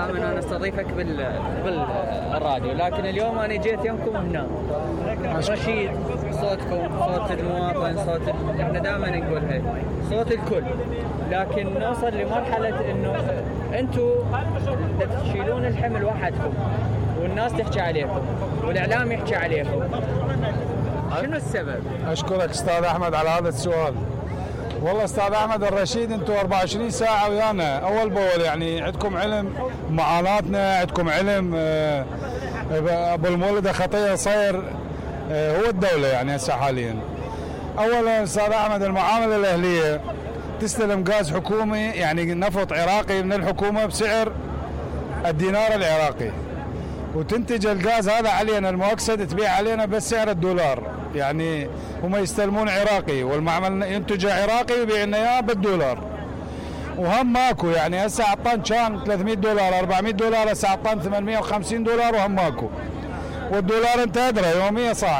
دائما انا استضيفك بالراديو، لكن اليوم انا جيت يمكم هنا. رشيد، صوتكم صوت المواطن، احنا دائما نقولها صوت الكل، لكن نوصل لمرحله انه انتم تشيلون الحمل وحدكم والناس تحكي عليكم والاعلام يحكي عليكم. شنو السبب؟ اشكرك استاذ احمد على هذا السؤال. والله استاذ احمد الرشيد، انتم 24 ساعه ويانا اول باول، يعني عندكم علم معاناتنا، عندكم علم. ابو المولد خطيه صاير هو الدوله يعني هسه حاليا. اولا استاذ احمد، المعامله الاهليه تستلم غاز حكومي، يعني نفط عراقي من الحكومه بسعر الدينار العراقي، وتنتج الغاز هذا علينا المؤكسد تبيع علينا بس سعر الدولار. يعني هم يستلمون عراقي والمعمل ينتجه عراقي ويبيع لنا اياه بالدولار، وهم ماكو. يعني هسه عطان كان $300 $400، هسه عطان $850 وهم ماكو، والدولار انت ادرى يوميا صاعد.